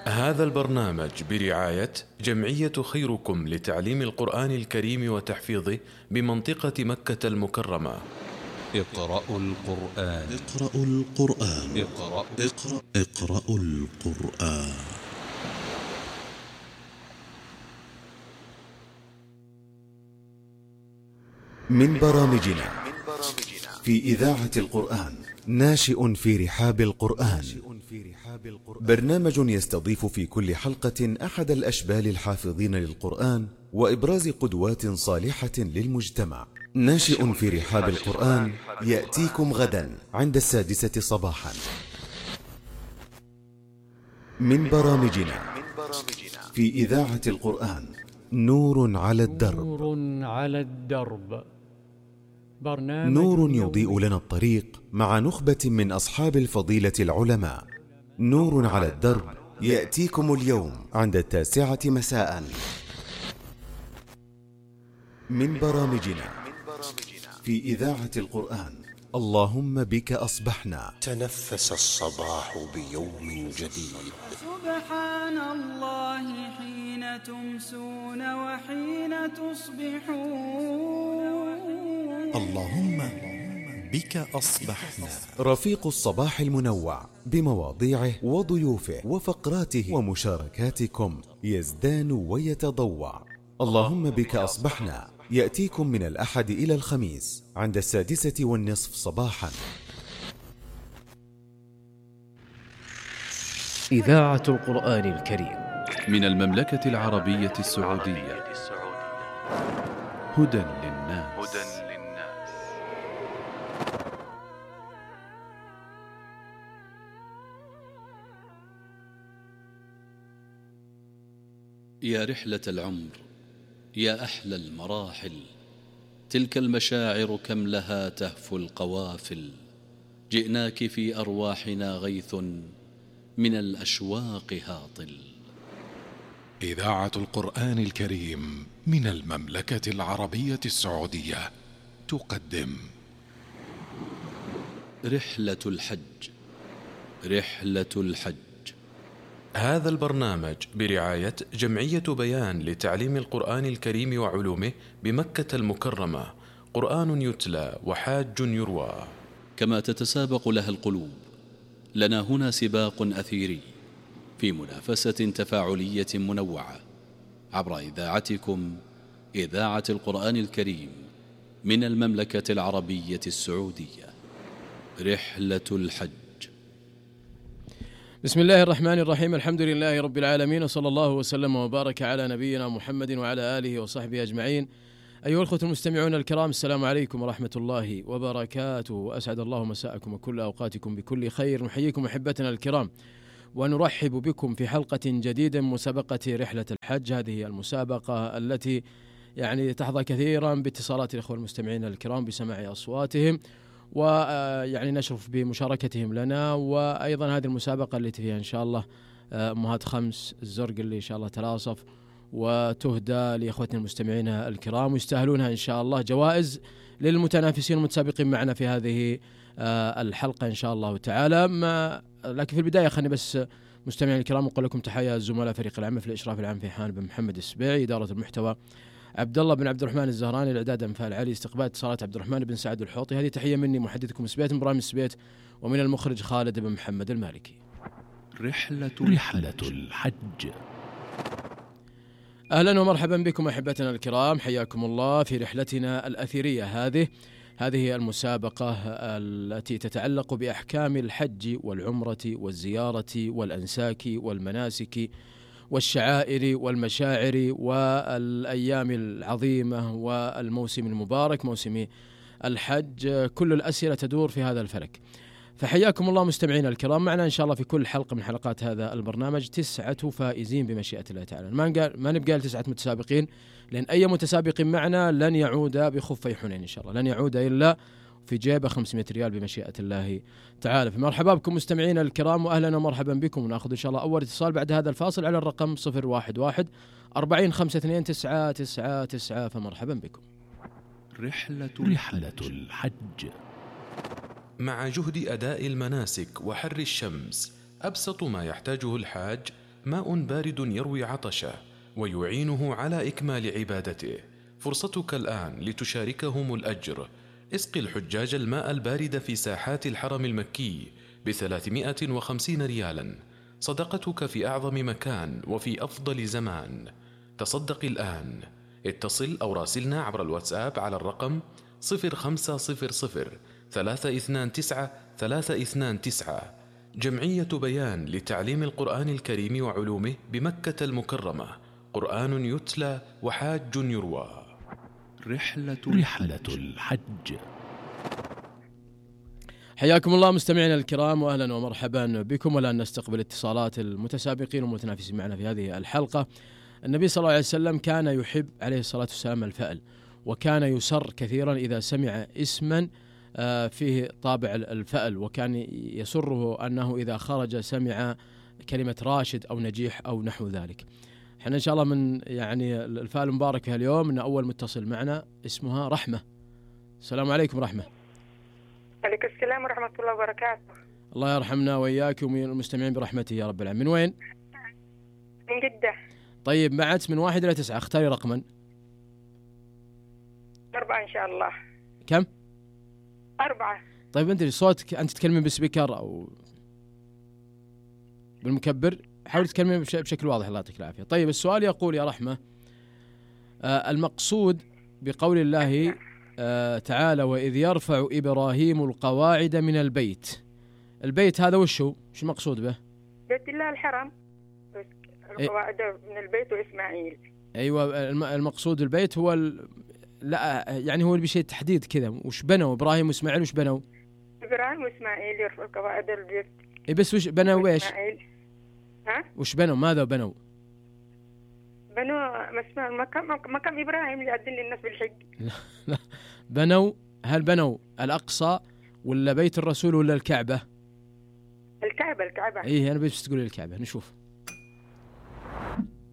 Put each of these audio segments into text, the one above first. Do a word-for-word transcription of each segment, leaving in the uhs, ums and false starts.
هذا البرنامج برعاية جمعية خيركم لتعليم القرآن الكريم وتحفيظه بمنطقة مكة المكرمة. اقرأوا القرآن. اقرأوا القرآن. اقرأ اقرأ اقرأوا القرآن. من برامجنا في إذاعة القرآن ناشئ في رحاب القرآن، برنامج يستضيف في كل حلقة أحد الأشبال الحافظين للقرآن وإبراز قدوات صالحة للمجتمع. ناشئ في رحاب القرآن يأتيكم غدا عند السادسة صباحا. من برامجنا في إذاعة القرآن نور على الدرب. نور على الدرب، برنامج نور يضيء لنا الطريق مع نخبة من أصحاب الفضيلة العلماء. نور على الدرب يأتيكم اليوم عند التاسعة مساء. من برامجنا في إذاعة القرآن اللهم بك أصبحنا. تنفس الصباح بيوم جديد. سبحان الله حين تمسون وحين تصبحون. اللهم بك أصبحنا. رفيق الصباح المنوع بمواضيعه وضيوفه وفقراته ومشاركاتكم يزدان ويتضوع. اللهم بك أصبحنا يأتيكم من الأحد إلى الخميس عند السادسة والنصف صباحا. إذاعة القرآن الكريم من المملكة العربية السعودية. هدى للناس. يا رحلة العمر، يا أحلى المراحل، تلك المشاعر كم لها تهفو القوافل. جئناك في أرواحنا غيث من الأشواق هاطل. إذاعة القرآن الكريم من المملكة العربية السعودية تقدم رحلة الحج. رحلة الحج. هذا البرنامج برعاية جمعية بيان لتعليم القرآن الكريم وعلومه بمكة المكرمة. قرآن يتلى وحاج يروى. كما تتسابق لها القلوب، لنا هنا سباق أثيري في منافسة تفاعلية منوعة عبر إذاعتكم إذاعة القرآن الكريم من المملكة العربية السعودية. رحلة الحج. بسم الله الرحمن الرحيم، الحمد لله رب العالمين، وصلى الله وسلم وبارك على نبينا محمد وعلى آله وصحبه أجمعين. أيها الأخوة المستمعون الكرام، السلام عليكم ورحمة الله وبركاته. أسعد الله مساءكم وكل أوقاتكم بكل خير. نحييكم أحبتنا الكرام ونرحب بكم في حلقة جديدة من مسابقة رحلة الحج. هذه المسابقة التي يعني تحظى كثيرا باتصالات الأخوة المستمعين الكرام بسماع أصواتهم ويعني نشرف بمشاركتهم لنا. وأيضا هذه المسابقة التي فيها إن شاء الله أمهات خمس الزرق اللي إن شاء الله تلاصف وتهدى لإخوتنا المستمعين الكرام، ويستاهلونها إن شاء الله جوائز للمتنافسين والمتسابقين معنا في هذه الحلقة إن شاء الله تعالى. ما لكن في البداية خلني بس مستمعين الكرام أقول لكم تحية الزملاء فريق العمل في الإشراف العام في حان بن محمد السبيعي، إدارة المحتوى عبد الله بن عبد الرحمن الزهراني، الإعداد أنفال علي، استقبال اتصالات عبد الرحمن بن سعد الحوطي. هذه تحية مني محدثكم سبيت من برامج سبيت، ومن المخرج خالد بن محمد المالكي. رحلة, رحلة الحج. أهلا ومرحبا بكم أحبتنا الكرام، حياكم الله في رحلتنا الأثيرية هذه. هذه المسابقة التي تتعلق بأحكام الحج والعمرة والزيارة والأنساك والمناسك والشعائر والمشاعر والأيام العظيمة والموسم المبارك موسم الحج. كل الأسئلة تدور في هذا الفلك. فحياكم الله مستمعينا الكرام، معنا إن شاء الله في كل حلقة من حلقات هذا البرنامج تسعة فائزين بمشيئة الله تعالى. ما نقال ما نبقى لتسعة متسابقين، لأن أي متسابق معنا لن يعود بخفي حنين إن شاء الله، لن يعود إلا في جيبه خمسمائة ريال بمشيئة الله تعالى. فمرحبا بكم مستمعينا الكرام، وأهلا ومرحبا بكم. ونأخذ إن شاء الله أول اتصال بعد هذا الفاصل على الرقم صفر واحد واحد أربعين خمسة اثنين تسعة تسعة تسعة. فمرحبا بكم. رحلة, رحلة الحج. مع جهد أداء المناسك وحر الشمس أبسط ما يحتاجه الحاج ماء بارد يروي عطشه ويعينه على إكمال عبادته. فرصتك الآن لتشاركهم الأجر. اسق الحجاج الماء البارد في ساحات الحرم المكي بثلاثمائة وخمسين ريالا، صدقتك في أعظم مكان وفي أفضل زمان. تصدق الآن. اتصل أو راسلنا عبر الواتساب على الرقم صفر خمسة صفر صفر ثلاثة اثنان تسعة ثلاثة اثنان تسعة. جمعية بيان لتعليم القرآن الكريم وعلومه بمكة المكرمة. قرآن يتلى وحاج يروى. رحلة رحلة الحج. حياكم الله مستمعينا الكرام واهلا ومرحبا بكم. والان نستقبل اتصالات المتسابقين والمتنافسين معنا في هذه الحلقة. النبي صلى الله عليه وسلم كان يحب عليه الصلاة والسلام الفأل، وكان يسر كثيرا إذا سمع اسما فيه طابع الفأل، وكان يسره أنه إذا خرج سمع كلمة راشد أو نجيح أو نحو ذلك. احنا إن شاء الله من يعني الفأل المبارك في اليوم أن أول متصل معنا اسمها رحمة. السلام عليكم رحمة. عليكم السلام ورحمة الله وبركاته. الله يرحمنا وإياك ومن المستمعين برحمته يا رب العالمين. من وين؟ من جدة. طيب معت من واحد إلى تسعة، اختاري رقما. أربعة إن شاء الله. كم؟ أربعة. طيب أنت صوتك أنت تتكلمين بالسبيكر أو بالمكبر؟ حاولي تتكلمين بشكل واضح الله يعطيك العافية. طيب السؤال يقول يا رحمة، آه المقصود بقول الله آه تعالى وإذ يرفع إبراهيم القواعد من البيت، البيت هذا وش هو؟ شو المقصود به؟ بيت الله الحرم، القواعد من البيت وإسماعيل. أيوة المقصود البيت هو ال... لا يعني هو بشيء تحديد كذا. وش بنوا إبراهيم وإسماعيل؟ وش بنوا؟ إبراهيم وإسماعيل يرفع قواعد البيت. إيه بس وش بنوا وإيش؟ ها؟ وش بنوا؟ ماذا بنوا؟ بنوا مكان مكان إبراهيم اللي يأذن للناس بالحج. لا لا بنوا، هل بنوا الأقصى ولا بيت الرسول ولا الكعبة؟ الكعبة. الكعبة. إيه أنا بس تقولي الكعبة. نشوف.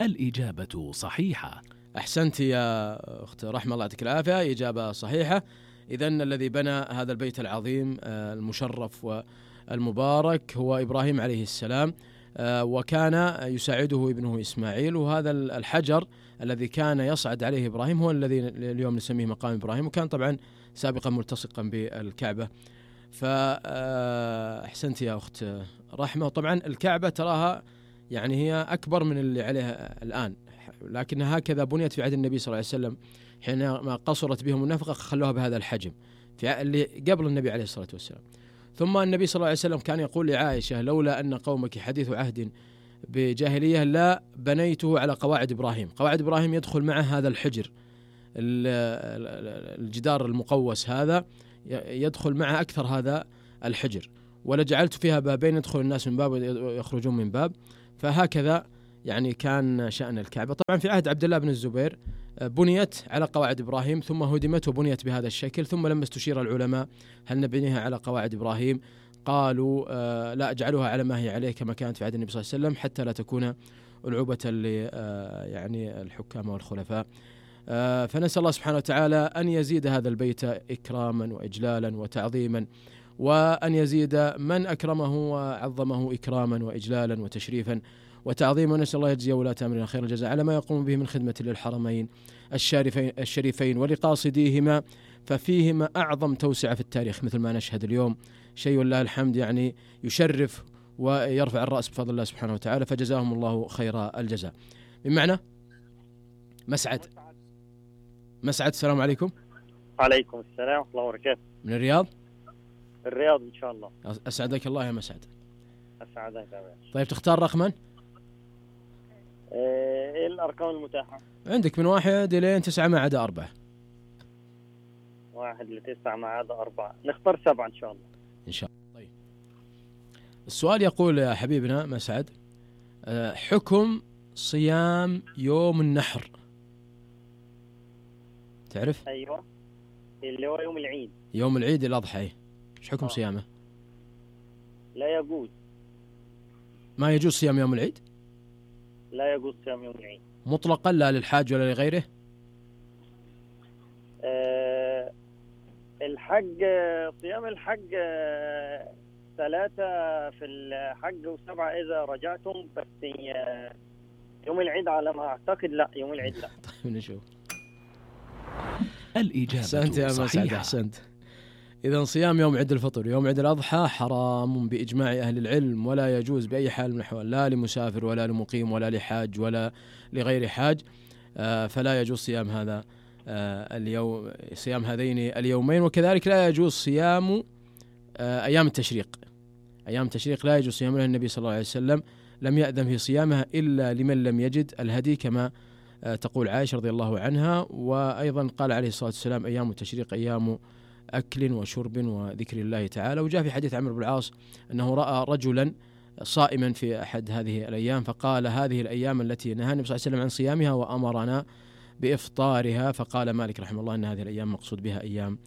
الإجابة صحيحة. أحسنت يا أخت رحمة الله يعطيك العافية، إجابة صحيحة. إذن الذي بنى هذا البيت العظيم المشرف والمبارك هو إبراهيم عليه السلام، وكان يساعده ابنه إسماعيل. وهذا الحجر الذي كان يصعد عليه إبراهيم هو الذي اليوم نسميه مقام إبراهيم، وكان طبعا سابقا ملتصقا بالكعبة. فأحسنت يا أخت رحمة. وطبعا الكعبة تراها يعني هي أكبر من اللي عليها الآن، لكن هكذا بنيت في عهد النبي صلى الله عليه وسلم حينما قصرت بهم النفقة خلوها بهذا الحجم في اللي قبل النبي عليه الصلاة والسلام. ثم النبي صلى الله عليه وسلم كان يقول لعائشة لولا أن قومك حديث عهد بجاهلية لا بنيته على قواعد إبراهيم. قواعد إبراهيم يدخل معه هذا الحجر، الجدار المقوس هذا يدخل معه أكثر هذا الحجر، ولجعلت فيها بابين يدخل الناس من باب ويخرجون من باب. فهكذا يعني كان شأن الكعبة. طبعا في عهد عبد الله بن الزبير بنيت على قواعد إبراهيم ثم هدمت وبنيت بهذا الشكل. ثم لما استشير العلماء هل نبنيها على قواعد إبراهيم قالوا آه لا اجعلوها على ما هي عليه كما كانت في عهد النبي صلى الله عليه وسلم حتى لا تكون ألعوبة ل آه يعني الحكام والخلفاء. آه فنسأل الله سبحانه وتعالى أن يزيد هذا البيت إكراما وإجلالا وتعظيما، وأن يزيد من أكرمه وعظمه إكراما وإجلالا وتشريفا وتعظيما. ونسأل الله يجزي ولاة أمرنا خير الجزاء على ما يقوم به من خدمة للحرمين الشريفين, الشريفين ولقاصديهما، ففيهما أعظم توسعة في التاريخ مثل ما نشهد اليوم. شيء والله الحمد يعني يشرف ويرفع الرأس بفضل الله سبحانه وتعالى، فجزاهم الله خير الجزاء. بمعنى مسعد مسعد السلام عليكم. عليكم السلام ورحمة الله وبركاته. من الرياض؟ الرياض إن شاء الله. أسعدك الله يا مسعد. أسعدك يا باشا. طيب تختار رقما؟ إيه الأرقام المتاحة؟ عندك من واحد إلى تسعة ما عدا أربعة. واحد لتسعة ما عدا أربعة، نختار سبعة إن شاء الله. إن شاء الله. طيب السؤال يقول يا حبيبنا مسعد، حكم صيام يوم النحر تعرف؟ أيوة اللي هو يوم العيد. يوم العيد الأضحى، إيش حكم آه. صيامه؟ لا يجوز. ما يجوز صيام يوم العيد؟ لا يجوز صيام يوم العيد مطلقا، لا للحاج ولا لغيره؟ أه الحج صيام الحج أه ثلاثة في الحج وسبعة إذا رجعتم، بس يوم العيد على ما أعتقد لا، يوم العيد لا. طيب نشوف. الإجابة أحسنت يا مسعد، أحسنت. إذا صيام يوم عيد الفطر يوم عيد الأضحى حرام بإجماع أهل العلم، ولا يجوز بأي حال من الأحوال، لا لمسافر ولا لمقيم ولا لحاج ولا لغير حاج. آه فلا يجوز صيام هذا آه اليوم، صيام هذين اليومين. وكذلك لا يجوز صيام آه أيام التشريق. أيام التشريق لا يجوز صيامها، النبي صلى الله عليه وسلم لم يأذن في صيامها إلا لمن لم يجد الهدي، كما آه تقول عائشة رضي الله عنها. وأيضا قال عليه الصلاة والسلام أيام التشريق أيام أكل وشرب وذكر الله تعالى. وجاء في حديث عمرو بن العاص أنه رأى رجلا صائما في أحد هذه الأيام فقال هذه الأيام التي نهى النبي صلى الله عليه وسلم عن صيامها وأمرنا بإفطارها، فقال مالك رحمه الله أن هذه الأيام مقصود بها أيام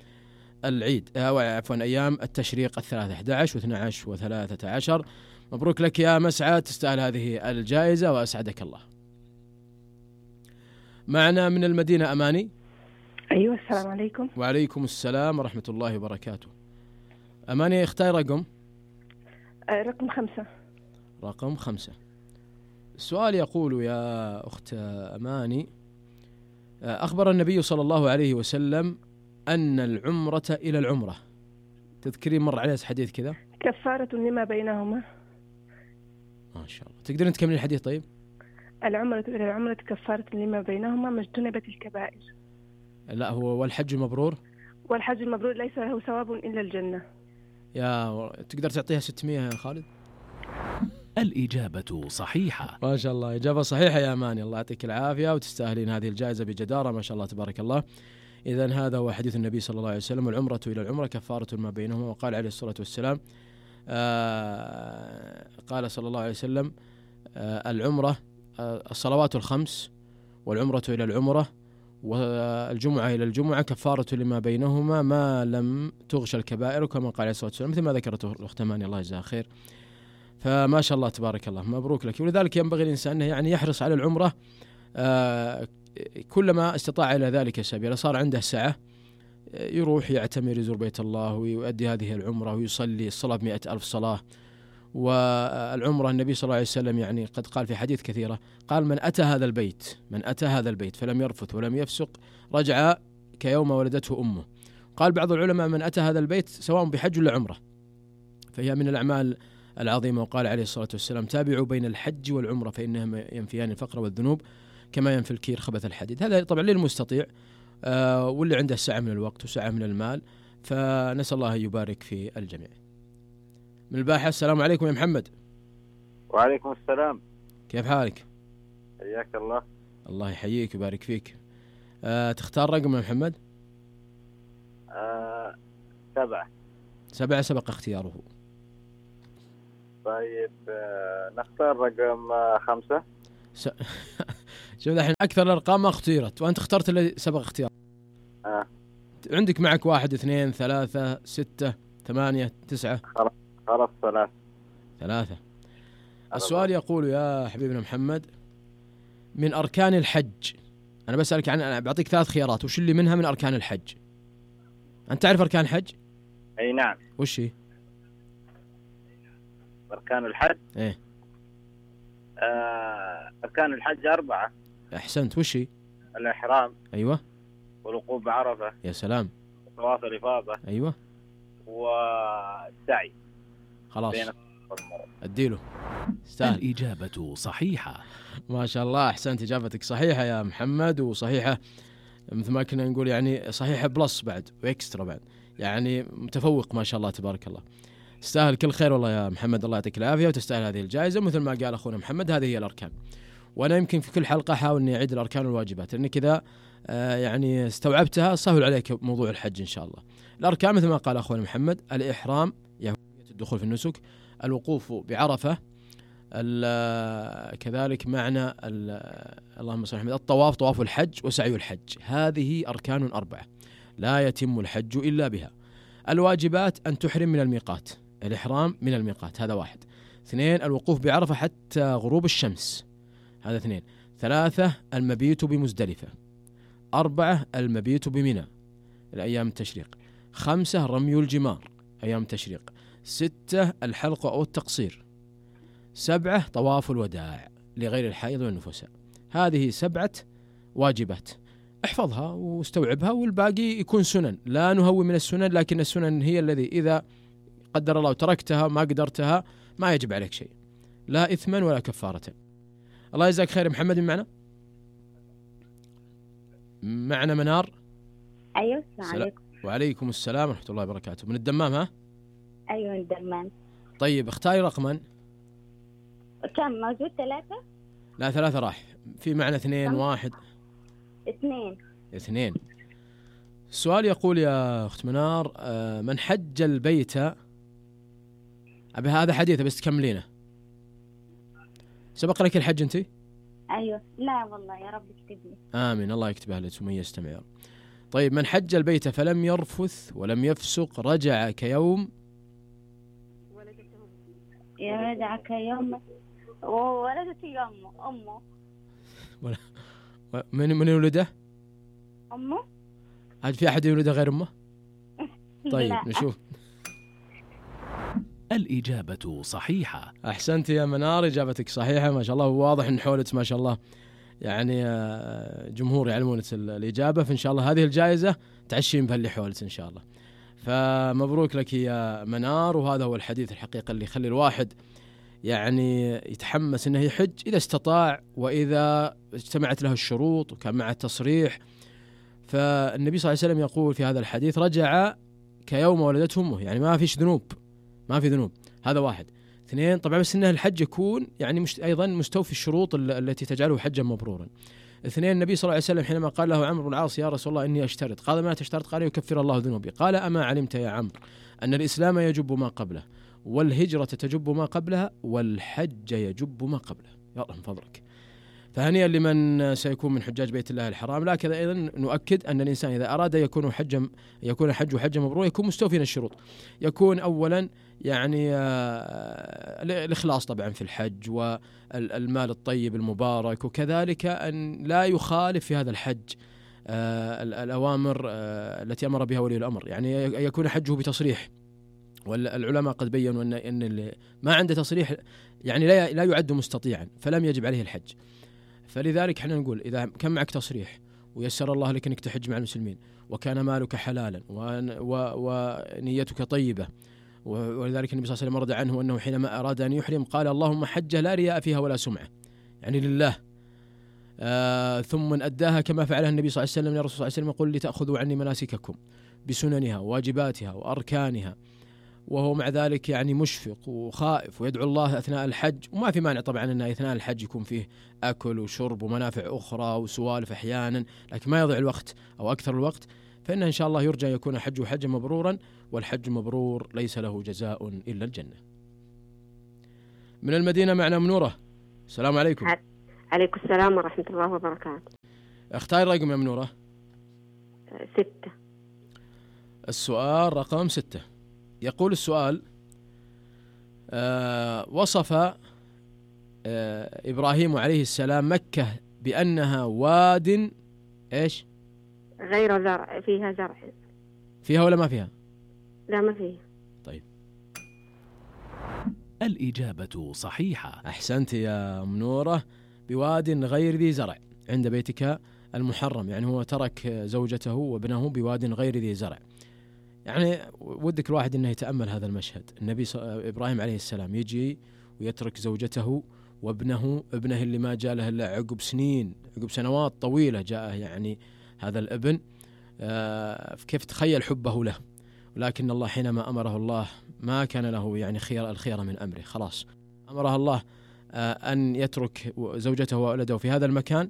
العيد، أو عفوا أيام التشريق الثلاثة، أحد عشر واثنى عشر وثلاثة عشر. مبروك لك يا مسعد، تستاهل هذه الجائزة وأسعدك الله. معنا من المدينة أماني. أيوة السلام عليكم. وعليكم السلام ورحمة الله وبركاته. أماني اختار رقم. آه رقم خمسة. رقم خمسة. السؤال يقول يا أخت أماني: أخبر النبي صلى الله عليه وسلم أن العمرة إلى العمرة، تذكرين مر عليه حديث كذا؟ كفارة لما بينهما. ما شاء الله. تقدرين تكملين الحديث طيب؟ العمرة إلى العمرة كفارة لما بينهما ما اجتنبت الكبائر. لا هو والحج المبرور. والحج المبرور ليس له ثواب إلا الجنة. يا تقدر تعطيها ستمائة يا خالد؟ الإجابة صحيحة. ما شاء الله، إجابة صحيحة يا أماني، الله يعطيك العافية وتستاهلين هذه الجائزة بجدارة، ما شاء الله تبارك الله. إذن هذا هو حديث النبي صلى الله عليه وسلم: العمرة إلى العمرة كفارة ما بينهما. وقال عليه الصلاة والسلام آه قال صلى الله عليه وسلم آه العمرة آه الصلوات الخمس والعمرة إلى العمرة والجمعة إلى الجمعة كفارة لما بينهما ما لم تغش الكبائر، كما قال عليه الصلاة والسلام، مثل ما ذكرته الأخت أماني الله يجزاها خير. فما شاء الله تبارك الله، مبروك لك. ولذلك ينبغي الإنسان أنه يعني يحرص على العمرة آه كلما استطاع إلى ذلك سبيلا. صار عنده سعة يروح يعتمر يزور بيت الله ويؤدي هذه العمرة ويصلي الصلاة بمئة ألف صلاة. والعمرة النبي صلى الله عليه وسلم يعني قد قال في حديث كثيرة، قال من أتى هذا البيت من أتى هذا البيت فلم يرفث ولم يفسق رجع كيوم ولدته أمه. قال بعض العلماء من أتى هذا البيت سواء بحج ولا عمرة، فهي من الأعمال العظيمة. وقال عليه الصلاة والسلام تابعوا بين الحج والعمرة فإنهما ينفيان الفقر والذنوب كما ينفي الكير خبث الحديد. هذا طبعا للمستطيع آه واللي عنده سعة من الوقت وسعة من المال، فنسأل الله أن يبارك في الجميع. من الباحة: السلام عليكم يا محمد. وعليكم السلام، كيف حالك؟ حياك الله. الله يحييك ويبارك فيك. آه تختار رقم يا محمد؟ آه سبعة. سبعة سبق اختياره. طيب آه نختار رقم آه خمسة. س... شوف الحين أكثر الأرقام ما اختيرت وأنت اخترت اللي سبق اختيار. آه. عندك معك واحد اثنين ثلاثة ستة ثمانية تسعة. خلاص خلاص ثلاثة. ثلاثة. السؤال يقول يا حبيبنا محمد: من أركان الحج، أنا بسألك عن أنا بعطيك ثلاث خيارات، وش اللي منها من أركان الحج؟ أنت تعرف أركان الحج؟ أي نعم. وش هي؟ أركان الحج؟ إيه. آه أركان الحج أربعة. أحسنت. وش هي؟ الإحرام. أيوة. والوقوف بعرفة. يا سلام. طواف الإفاضة. أيوة. والسعي. خلاص أديله. استاهل. الإجابة صحيحة. ما شاء الله، أحسنت، إجابتك صحيحة يا محمد، وصحيحة مثل ما كنا نقول يعني صحيحة بلس بعد وإكسترا بعد، يعني متفوق ما شاء الله تبارك الله. تستاهل كل خير والله يا محمد، الله يعطيك العافية وتستاهل هذه الجائزة. مثل ما قال أخونا محمد هذه هي الأركان، وأنا يمكن في كل حلقة أحاول أني أعيد الأركان والواجبات لأني كذا آه يعني استوعبتها، سهل عليك موضوع الحج إن شاء الله. الأركان مثل ما قال أخونا محمد: الإحرام يعني الدخول في النسك، الوقوف بعرفة، كذلك معنى اللهم صل على الطواف طواف الحج وسعي الحج. هذه أركان أربعة لا يتم الحج إلا بها. الواجبات أن تحرم من الميقات، الإحرام من الميقات هذا واحد. اثنين الوقوف بعرفة حتى غروب الشمس هذا اثنين. ثلاثة المبيت بمزدلفة. أربعة المبيت بمنى الأيام التشريق. خمسة رمي الجمار أيام التشريق. ستة الحلق أو التقصير. سبعة طواف الوداع لغير الحائض والنفساء. هذه سبعة واجبات، احفظها واستوعبها، والباقي يكون سنن. لا نهوي من السنن، لكن السنن هي الذي إذا قدر الله تركتها ما قدرتها ما يجب عليك شيء، لا إثما ولا كفارة. الله يجزاك خير. محمد معنا معنا منار. أيوة السلام عليكم. وعليكم السلام ورحمة الله وبركاته. من الدمام ها؟ أيوة من الدمام. طيب اختاري رقما. كم موجود؟ ثلاثة؟ لا ثلاثة راح، في معنا اثنين واحد. اثنين. اثنين. السؤال يقول يا أخت منار، من حج البيت، أبي هذا حديث بس تكملينه. سبق لك الحج أنت؟ أيوة. لا والله، يا رب يكتب لي. آمين، الله يكتبها لك ومن يستمع. طيب، من حج البيت فلم يرفث ولم يفسق رجع كيوم رجع كيوم وولدت يوم أمه. من من يولده؟ أمه. هل في أحد يولده غير أمه؟ طيب نشوف. الإجابة صحيحة. أحسنت يا منار، إجابتك صحيحة ما شاء الله. واضح إن حولك ما شاء الله يعني جمهور يعلمون الإجابة، فإن شاء الله هذه الجائزة تعشين بها اللي حولك إن شاء الله. فمبروك لك يا منار. وهذا هو الحديث الحقيقة اللي يخلي الواحد يعني يتحمس إنه يحج إذا استطاع، وإذا اجتمعت له الشروط وكان مع التصريح. فالنبي صلى الله عليه وسلم يقول في هذا الحديث رجع كيوم ولدته أمه، يعني ما فيش ذنوب، ما في ذنوب. هذا واحد. اثنين، طبعا بس إنه الحج يكون يعني مش أيضا مستوفي الشروط التي تجعله حجا مبرورا. اثنين، النبي صلى الله عليه وسلم حينما قال له عمرو بن العاص يا رسول الله إني أشترط، قال ما تشترط؟ قال يكفر الله ذنوبي. قال أما علمت يا عمرو أن الإسلام يجب ما قبله، والهجرة تجب ما قبلها، والحج يجب ما قبله. يا الله من فضلك. فهنيئا لمن سيكون من حجاج بيت الله الحرام. لكن أيضا نؤكد أن الإنسان إذا أراد يكون حجا يكون حج حجا مبرور يكون مستوفيا الشروط. يكون أولا يعني الإخلاص طبعا في الحج، والمال الطيب المبارك، وكذلك أن لا يخالف في هذا الحج الأوامر التي أمر بها ولي الأمر، يعني يكون حجه بتصريح. والعلماء قد بيّنوا أن أن اللي ما عنده تصريح يعني لا لا يعد مستطيعا، فلم يجب عليه الحج. فلذلك احنا نقول إذا كان معك تصريح ويسر الله لك أنك تحج مع المسلمين، وكان مالك حلالا ونيتك طيبة، ولذلك النبي صلى الله عليه وسلم ورد عنه أنه حينما أراد أن يحرم قال اللهم حجة لا رياء فيها ولا سمعة، يعني لله. آه ثم من أداها كما فعلها النبي صلى الله عليه وسلم. يا رسول الله صلى الله عليه وسلم يقول لتأخذوا عني مناسككم بسننها وواجباتها وأركانها، وهو مع ذلك يعني مشفق وخائف ويدعو الله أثناء الحج. وما في مانع طبعا أن أثناء الحج يكون فيه أكل وشرب ومنافع أخرى وسوالف أحيانا، لكن ما يضيع الوقت أو أكثر الوقت. فإن إن شاء الله يرجى يكون حجه حجا مبرورا، والحج مبرور ليس له جزاء إلا الجنة. من المدينة معنا منورة. السلام عليكم. عليكم السلام ورحمة الله وبركاته. اختار رقم يا منورة. ستة. السؤال رقم ستة. يقول السؤال آه وصف آه إبراهيم عليه السلام مكة بأنها واد إيش؟ غير زرع، فيها زرع. فيها ولا ما فيها؟ لا ما فيها. طيب الإجابة صحيحة. أحسنت يا منورة. بواد غير ذي زرع عند بيتك المحرم، يعني هو ترك زوجته وابنه بواد غير ذي زرع. يعني ودك الواحد أنه يتأمل هذا المشهد. النبي إبراهيم عليه السلام يجي ويترك زوجته وابنه، ابنه اللي ما جاء له إلا عقب سنين، عقب سنوات طويلة جاءه يعني هذا الابن. آه كيف تخيل حبه له. ولكن الله حينما أمره الله ما كان له يعني خير الخير من أمره، خلاص أمره الله آه أن يترك زوجته وولده في هذا المكان،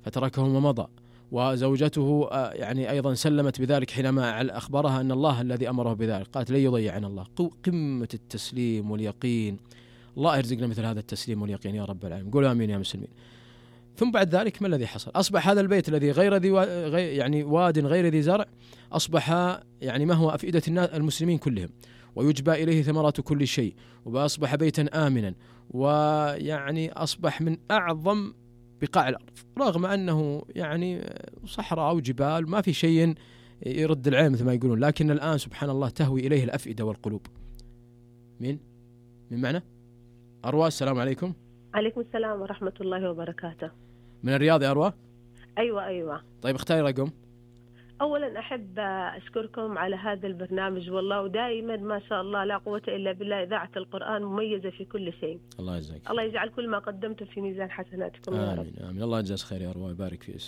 فتركهم ومضى. وزوجته آه يعني أيضا سلمت بذلك حينما أخبرها أن الله الذي أمره بذلك، قالت لن يضيعنا الله. قمة التسليم واليقين. الله يرزقنا مثل هذا التسليم واليقين يا رب العالمين. قولوا آمين يا مسلمين. ثم بعد ذلك ما الذي حصل؟ أصبح هذا البيت الذي غير ذي يعني واد غير ذي زرع، أصبح يعني ما هو أفئدة المسلمين كلهم، ويجبى إليه ثمرات كل شيء، وأصبح بيتا آمنا، ويعني أصبح من أعظم بقاع الأرض، رغم أنه يعني صحراء أو جبال ما في شيء يرد العين مثل ما يقولون، لكن الآن سبحان الله تهوي إليه الأفئدة والقلوب. مين من معنا؟ أروى، السلام عليكم. عليكم السلام ورحمة الله وبركاته. من الرياض يا أروى؟ أيوة أيوة. طيب اختاري رقم. أولا أحب أشكركم على هذا البرنامج والله، ودائما ما شاء الله لا قوة إلا بالله إذاعة القرآن مميزة في كل شيء. الله يجزاك. الله يجعل كل ما قدمتم في ميزان حسناتكم يا رب. آمين آمين. الله يجزاك خير يا أروى، يبارك فيك.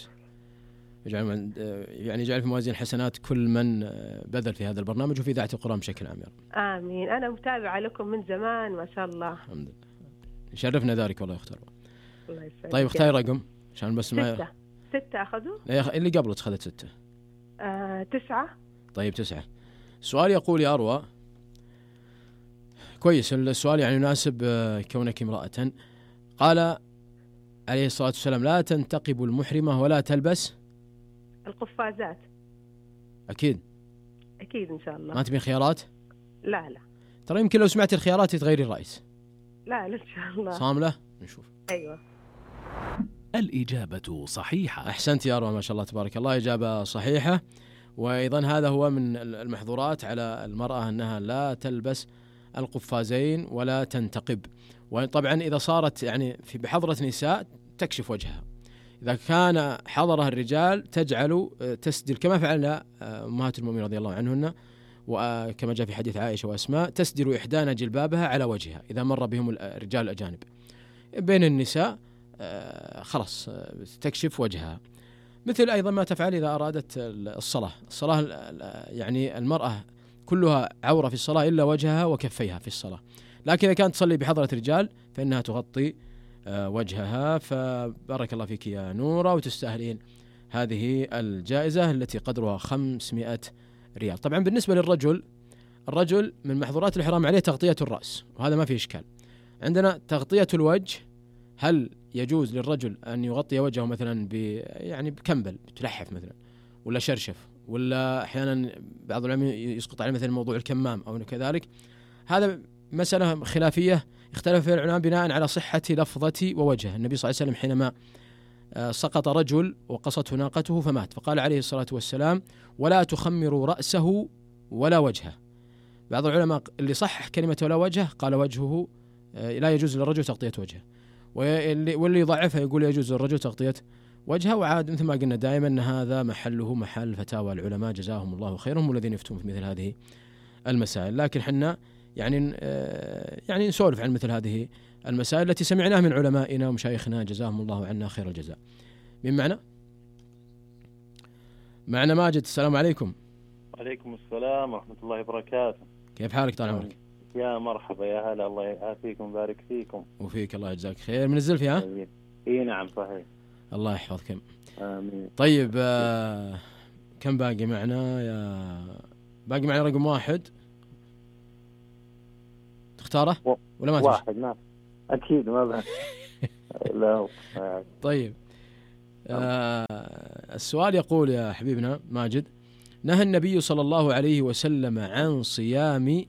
يجعل يعني يجعل في موازين حسنات كل من بذل في هذا البرنامج وفي إذاعة القرآن بشكل عام يا رب. آمين. أنا متابعة لكم من زمان ما شاء الله. الحمد لله. شرفنا ذلك والله يا أخت أروى. الله يسعدك. طيب اختاري رقم عشان بس ما ستة. ستة أخذوا؟ اللي قبله أخذت ستة. آه، تسعة. طيب تسعة. السؤال يقول يا أروى، كويس السؤال يعني يناسب كونك امرأة. قال عليه الصلاة والسلام: لا تنتقب المحرمة ولا تلبس القفازات. أكيد أكيد إن شاء الله. ما تبين خيارات؟ لا لا. ترى يمكن لو سمعت الخيارات تغيري الرأي. لا لا إن شاء الله. صاملة؟ نشوف. أيوة. الإجابة صحيحة. أحسنت يا أروى، ما شاء الله تبارك الله، إجابة صحيحة. وأيضا هذا هو من المحظورات على المرأة أنها لا تلبس القفازين ولا تنتقب. وطبعا إذا صارت يعني في بحضرة نساء تكشف وجهها. إذا كان حضرها الرجال تجعل تسدل كما فعل أمهات المؤمنين رضي الله عنهن، وكما جاء في حديث عائشة وأسماء: تسدل إحدانا جلبابها على وجهها إذا مر بهم الرجال الأجانب. بين النساء خلاص تكشف وجهها. مثل أيضا ما تفعل إذا أرادت الصلاة. الصلاة يعني المرأة كلها عورة في الصلاة إلا وجهها وكفيها في الصلاة، لكن إذا كانت تصلي بحضرة رجال فإنها تغطي وجهها. فبارك الله فيك يا نورة، وتستاهلين هذه الجائزة التي قدرها خمسمائة ريال. طبعا بالنسبة للرجل، الرجل من محظورات الإحرام عليه تغطية الرأس، وهذا ما فيه إشكال. عندنا تغطية الوجه. هل يجوز للرجل أن يغطي وجهه مثلا ب يعني بكمبل بتلحف مثلا، ولا شرشف، ولا أحيانا بعض العلماء يسقط عليه مثلا موضوع الكمام أو كذلك؟ هذا مسألة خلافية اختلف فيها العلماء بناء على صحة لفظة ووجه. النبي صلى الله عليه وسلم حينما سقط رجل وقصته ناقته فمات، فقال عليه الصلاة والسلام: ولا تخمروا رأسه ولا وجهه. بعض العلماء اللي صحح كلمة ولا وجهه قال وجهه لا يجوز للرجل تغطية وجهه، واللي يضعفها يقول يجوز للرجل تغطية وجهه. وعاد مثل ما قلنا دائما أن هذا محله محل فتاوى العلماء جزاهم الله خيرهم والذين يفتون في مثل هذه المسائل. لكن حنا يعني يعني نسولف عن مثل هذه المسائل التي سمعناها من علمائنا ومشايخنا جزاهم الله عنا خير الجزاء. من معنا؟ معنا ماجد، السلام عليكم. وعليكم السلام ورحمة الله وبركاته. كيف حالك طال عمرك؟ يا مرحبا يا هلا، الله يعافيكم ويبارك فيكم. وفيك الله يجزاك خير. من الزلفي ها؟ اي نعم صحيح. الله يحفظك. آمين. طيب آه كم باقي معنا يا باقي معنا؟ رقم واحد تختاره و... ولا ما واحد؟ نعم أكيد ما بعد. لا طيب آه السؤال يقول يا حبيبنا ماجد: نهى النبي صلى الله عليه وسلم عن صيام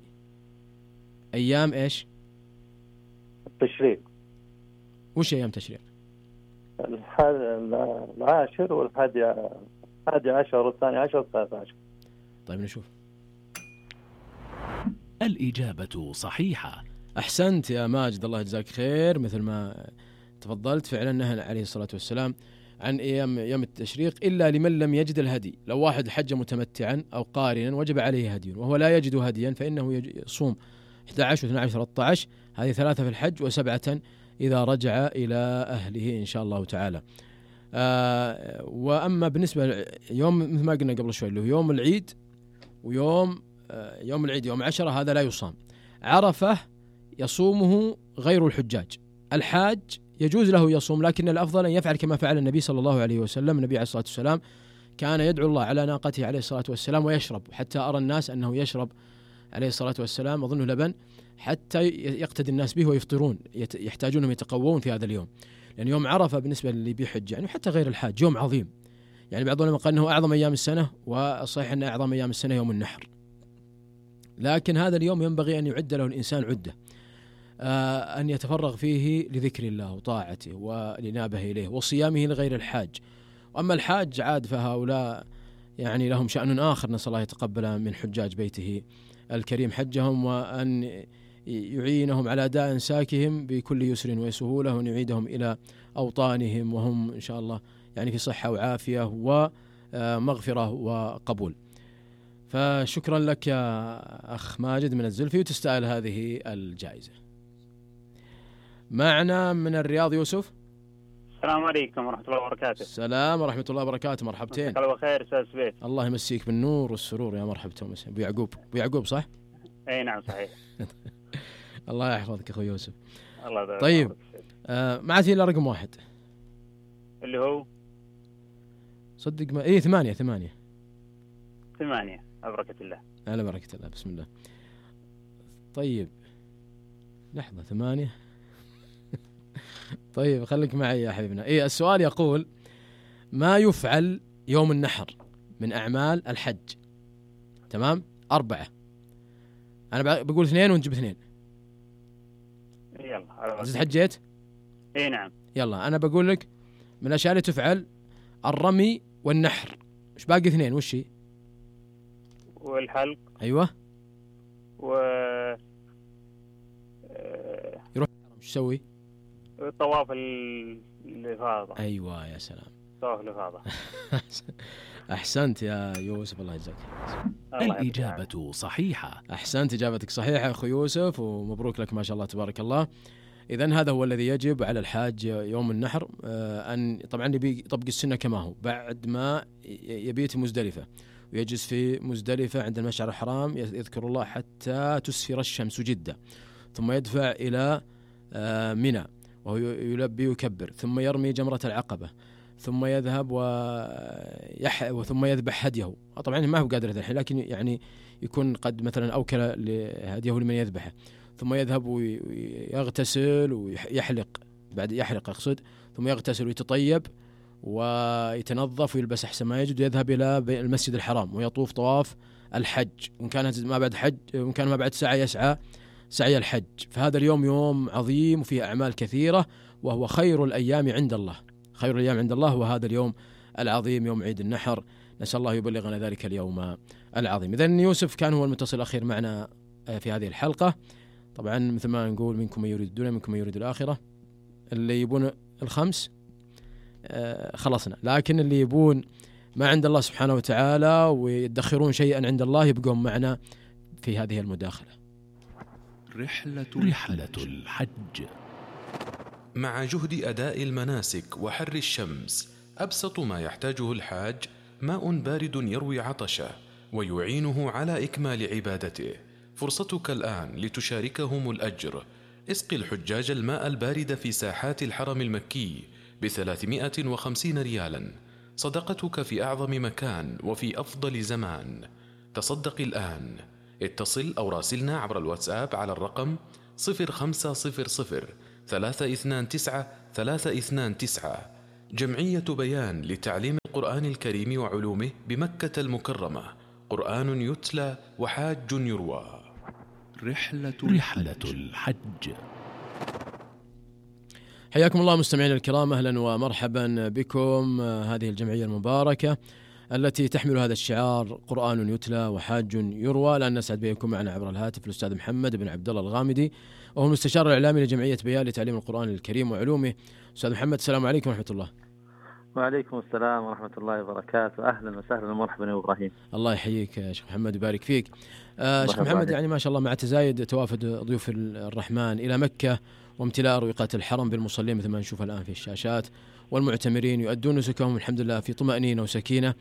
أيام إيش؟ التشريق. وش أيام تشريق؟ العاشر والحادي الحادي عشر والثاني عشر والثالث عشر. طيب نشوف. الإجابة صحيحة. أحسنت يا ماجد، الله يجزاك خير. مثل ما تفضلت فعلا نهى عليه الصلاة والسلام عن أيام يوم التشريق إلا لمن لم يجد الهدي. لو واحد حج متمتعا أو قارنا وجب عليه هدي وهو لا يجد هديا فإنه يصوم أحد عشر واثني عشر ثلاثة عشر، هذه ثلاثة في الحج وسبعة إذا رجع إلى أهله إن شاء الله تعالى. آه وأما بالنسبة يوم مثل ما قلنا قبل شوي اللي هو يوم العيد ويوم آه يوم العيد يوم عشرة هذا لا يصام. عرفة يصومه غير الحجاج. الحاج يجوز له يصوم، لكن الأفضل أن يفعل كما فعل النبي صلى الله عليه وسلم. النبي عليه الصلاة والسلام كان يدعو الله على ناقته عليه الصلاة والسلام ويشرب، حتى أرى الناس أنه يشرب عليه الصلاة والسلام أظنه لبن حتى يقتدي الناس به ويفطرون، يحتاجونهم يتقوون في هذا اليوم، لأن يوم عرفة بالنسبة للي بيحج يعني حتى غير الحاج يوم عظيم. يعني بعض العلماء قال أنه أعظم أيام السنة، والصحيح أن أعظم أيام السنة يوم النحر، لكن هذا اليوم ينبغي أن يعد له الإنسان عدة آه أن يتفرغ فيه لذكر الله وطاعته والإنابة إليه وصيامه لغير الحاج. وأما الحاج عاد فهؤلاء يعني لهم شأن آخر، نسأل الله يتقبل من حجاج بيته الكريم حجهم، وأن يعينهم على أداء إنساكهم بكل يسر وسهولة، وأن يعيدهم إلى أوطانهم وهم إن شاء الله يعني في صحة وعافية ومغفرة وقبول. فشكرا لك يا أخ ماجد من الزلفي، وتستاهل هذه الجائزة. معنا من الرياض يوسف. السلام عليكم ورحمة الله وبركاته. السلام ورحمة الله وبركاته. مرحبتين. الله بخير أستاذ سبيت. الله يمسيك بالنور والسرور يا مرحبتين. أبو يعقوب، أبو يعقوب صح؟ أي نعم صحيح. الله يحفظك أخوي يوسف. الله يبارك. طيب آه معتي إلى رقم واحد اللي هو صدق ما إيه ثمانية ثمانية ثمانية. على بركة الله. على بركة الله. بسم الله. طيب لحظة ثمانية. طيب خليك معي يا حبيبنا. إيه السؤال يقول: ما يفعل يوم النحر من أعمال الحج؟ تمام. أربعة. أنا بقول اثنين ونجيب اثنين. يلا. زد حجيت؟ إيه نعم. يلا أنا بقول لك من الأشياء اللي تفعل الرمي والنحر. إيش باقي اثنين؟ وش هي؟ والحلق. أيوة. و يروح إيش يسوي؟ طواف الإفاضة. أيوة يا سلام. طواف الإفاضة. أحسنت يا يوسف، الله يجزاك. الإجابة صحيحة. أحسنت، إجابتك صحيحة أخو يوسف، ومبروك لك ما شاء الله تبارك الله. إذن هذا هو الذي يجب على الحاج يوم النحر، أن طبعا يبي يطبق السنة كما هو بعد ما يبيت مزدلفة ويجلس في مزدلفة عند المشعر الحرام، يذكر الله حتى تسفر الشمس جدة، ثم يدفع إلى منى وهو يلبي ويكبر، ثم يرمي جمرة العقبة، ثم يذهب ويح وثم يذبح هديه. طبعا ما هو قادر الحين، لكن يعني يكون قد مثلا أوكل هديه لمن يذبحه، ثم يذهب ويغتسل ويحلق، بعد يحلق أقصد، ثم يغتسل ويتطيب ويتنظف ويلبس أحسن ما يجد، ويذهب إلى المسجد الحرام ويطوف طواف الحج، وإن كان ما بعد حج وإن كان ما بعد ساعة يسعى سعي الحج. فهذا اليوم يوم عظيم وفيه أعمال كثيرة، وهو خير الأيام عند الله. خير الأيام عند الله هو هذا اليوم العظيم، يوم عيد النحر. نسأل الله يبلغنا ذلك اليوم العظيم. إذن يوسف كان هو المتصل الأخير معنا في هذه الحلقة. طبعا مثل ما نقول: منكم من يريد الدنيا منكم من يريد الآخرة. اللي يبون الخمس آه خلصنا، لكن اللي يبون ما عند الله سبحانه وتعالى ويدخرون شيئا عند الله يبقون معنا في هذه المداخلة. رحلة رحلة الحج. مع جهد أداء المناسك وحر الشمس، أبسط ما يحتاجه الحاج ماء بارد يروي عطشه ويعينه على إكمال عبادته. فرصتك الآن لتشاركهم الأجر. اسقي الحجاج الماء البارد في ساحات الحرم المكي بثلاثمائة وخمسين ريالا. صدقتك في أعظم مكان وفي أفضل زمان. تصدق الآن. اتصل أو راسلنا عبر الواتساب على الرقم صفر خمسة صفر صفر ثلاثة اثنان تسعة ثلاثة اثنان تسعة. جمعية بيان لتعليم القرآن الكريم وعلومه بمكة المكرمة. قرآن يتلى وحاج يروى. رحلة رحلة الحج. حياكم الله مستمعين الكرام، أهلا ومرحبا بكم. هذه الجمعية المباركة التي تحمل هذا الشعار: قرآن يتلى وحاج يروى. لأن نسعد بكم معنا عبر الهاتف الأستاذ محمد بن عبد الله الغامدي، وهو المستشار الإعلامي لجمعية بيان لتعليم القرآن الكريم وعلومه. أستاذ محمد، السلام عليكم ورحمة الله. وعليكم السلام ورحمة الله وبركاته. أهلا وسهلا ومرحبا يا إبراهيم. الله يحييك يا شيخ محمد ويبارك فيك. آه شيخ محمد، يعني ما شاء الله مع تزايد توافد ضيوف الرحمن إلى مكة وامتلاء أروقة الحرم بالمصلين مثل ما نشوف الآن في الشاشات، والمعتمرين يؤدون نسكهم الحمد لله في طمأنينة وسكينة.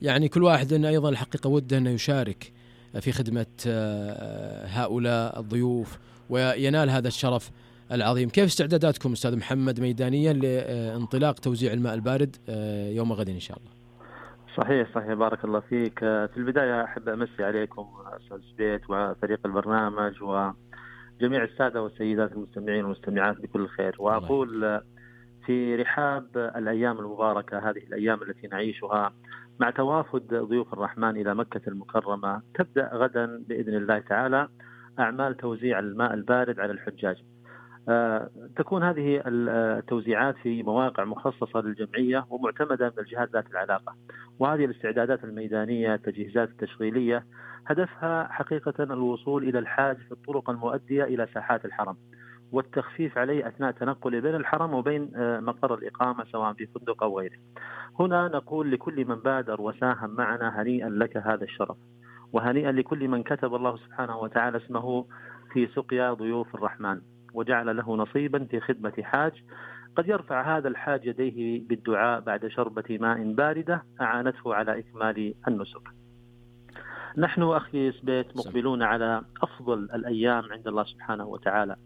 يعني كل واحد أيضا الحقيقة وده أنه يشارك في خدمة هؤلاء الضيوف وينال هذا الشرف العظيم. كيف استعداداتكم أستاذ محمد ميدانيا لانطلاق توزيع الماء البارد يوم غد إن شاء الله؟ صحيح صحيح، بارك الله فيك. في البداية أحب أمسي عليكم أستاذ سبيت وفريق البرنامج وجميع السادة والسيدات المستمعين والمستمعات بكل خير، وأقول في رحاب الأيام المباركة، هذه الأيام التي نعيشها مع توافد ضيوف الرحمن إلى مكة المكرمة، تبدأ غدا بإذن الله تعالى أعمال توزيع الماء البارد على الحجاج. آه، تكون هذه التوزيعات في مواقع مخصصة للجمعية ومعتمدة من الجهات ذات العلاقة، وهذه الاستعدادات الميدانية التجهيزات التشغيلية هدفها حقيقة الوصول إلى الحاج في الطرق المؤدية إلى ساحات الحرم، والتخفيف عليه أثناء تنقله بين الحرم وبين مقر الإقامة سواء في فندق أو غيره. هنا نقول لكل من بادر وساهم معنا هنيئا لك هذا الشرف، وهنيئا لكل من كتب الله سبحانه وتعالى اسمه في سقيا ضيوف الرحمن وجعل له نصيبا في خدمة حاج. قد يرفع هذا الحاج يديه بالدعاء بعد شربة ماء باردة أعانته على إكمال النسك. نحن أخي سبيت مقبلون على أفضل الأيام عند الله سبحانه وتعالى،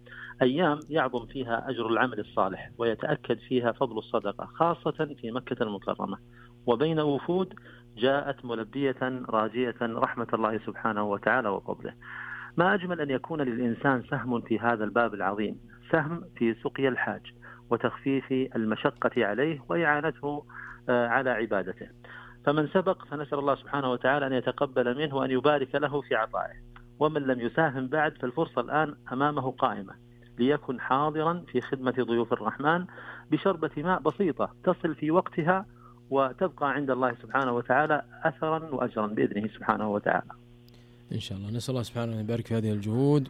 أيام يعظم فيها أجر العمل الصالح ويتأكد فيها فضل الصدقة، خاصة في مكة المكرمة وبين وفود جاءت ملبية راجية رحمة الله سبحانه وتعالى وفضله. ما أجمل أن يكون للإنسان سهم في هذا الباب العظيم، سهم في سقيا الحاج وتخفيف المشقة عليه وإعانته على عبادته. فمن سبق فنسأل الله سبحانه وتعالى أن يتقبل منه وأن يبارك له في عطائه، ومن لم يساهم بعد فالفرصة الآن أمامه قائمة ليكن حاضرا في خدمة ضيوف الرحمن بشربة ماء بسيطة تصل في وقتها وتبقى عند الله سبحانه وتعالى أثرا وأجرا بإذنه سبحانه وتعالى إن شاء الله. نسأل الله سبحانه أن يبارك في هذه الجهود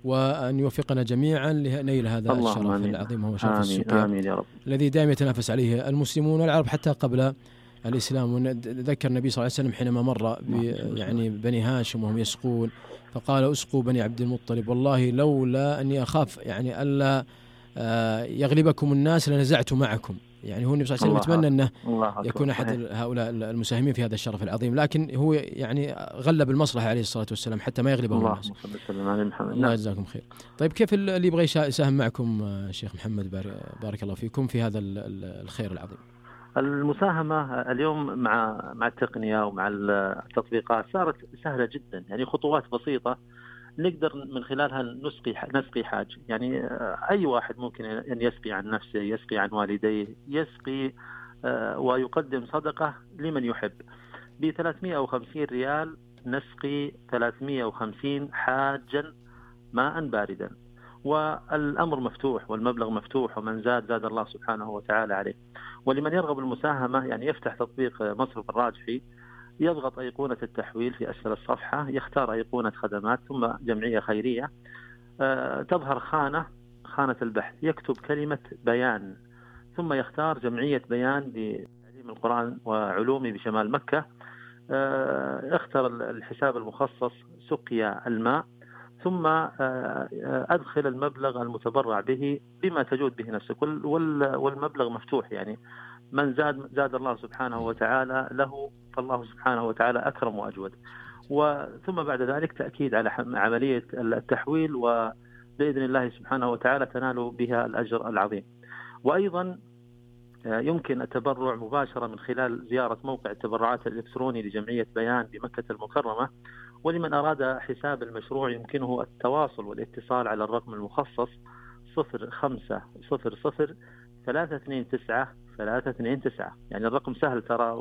وأن يوفقنا جميعا لنيل هذا الشرف العظيم، هو شرف السقيا الذي دائما يتنافس عليه المسلمون والعرب حتى قبل الإسلام. ذكر النبي صلى الله عليه وسلم حينما مر يعني بني هاشم وهم يسقون فقال اسقوا بني عبد المطلب، والله لولا أني أخاف يعني ألا يغلبكم الناس لنزعت معكم. يعني هو النبي صلى الله عليه وسلم يتمنى أنه يكون أحد هؤلاء المساهمين في هذا الشرف العظيم، لكن هو يعني غلب المصلحة عليه الصلاة والسلام حتى ما يغلبهم الناس. الله يجزاكم خير. طيب كيف اللي يبغى يساهم معكم شيخ محمد بارك الله فيكم في هذا الخير العظيم؟ المساهمة اليوم مع مع التقنية ومع التطبيقات صارت سهلة جدا، يعني خطوات بسيطة نقدر من خلالها نسقي نسقي حاج. يعني أي واحد ممكن أن يسقي عن نفسه، يسقي عن والديه، يسقي ويقدم صدقة لمن يحب. ب ثلاثمئة وخمسين ريال نسقي ثلاثمئة وخمسين حاجا ماء باردا، والأمر مفتوح والمبلغ مفتوح، ومن زاد زاد الله سبحانه وتعالى عليه. ولمن يرغب المساهمة يعني يفتح تطبيق مصرف الراجحي، يضغط أيقونة التحويل في أسفل الصفحة، يختار أيقونة خدمات ثم جمعية خيرية، أه تظهر خانة خانة البحث، يكتب كلمة بيان ثم يختار جمعية بيان لتعليم القرآن وعلومه بشمال مكة، أه اختر الحساب المخصص سقيا الماء، ثم أدخل المبلغ المتبرع به بما تجود به نفسك، والمبلغ مفتوح. يعني من زاد زاد الله سبحانه وتعالى له، فالله سبحانه وتعالى أكرم وأجود. وثم بعد ذلك تأكيد على عملية التحويل، وبإذن الله سبحانه وتعالى تنال بها الأجر العظيم. وأيضا يمكن التبرع مباشرة من خلال زيارة موقع التبرعات الإلكتروني لجمعية بيان بمكة المكرمة. ولمن أراد حساب المشروع يمكنه التواصل والاتصال على الرقم المخصص صفر خمسة صفر صفر ثلاثة اثنين تسعة ثلاثة اثنين تسعة. يعني الرقم سهل ترى